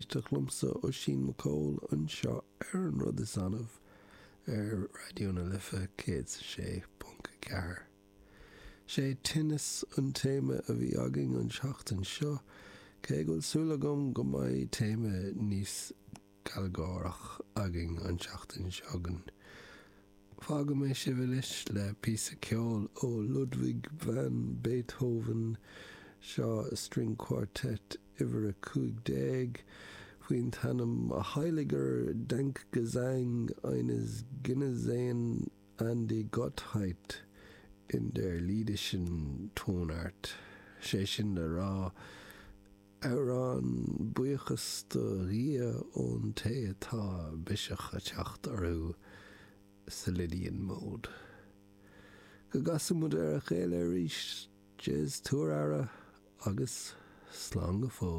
éisteacht liomsa, Oisín McCall, anseo ar An Rud Is Annamh ar Raidió na Life 106.4. Sé tinneas an téama a bhí againn an tseachtain seo, cé go bhfuil súil agam go mbeidh téama níos gealgháireach againn an tseachtain seo chugainn. Fágfaidh mé sibh anois le píosa ceoil ó Ludwig van Beethoven, seo String Quartet uimhir 15, faoin t-ainm Heiliger Dankgesang eines Genesenen an die Gottheit in der lydischen Tonart, sé sin le rá, Amhrán buíochas do Dhia ón té atá biseach a teacht orthu sa Lydian mode. Go gcasfaidh muid ar a chéile arís, Jez tabhair aire agus slán go fóill.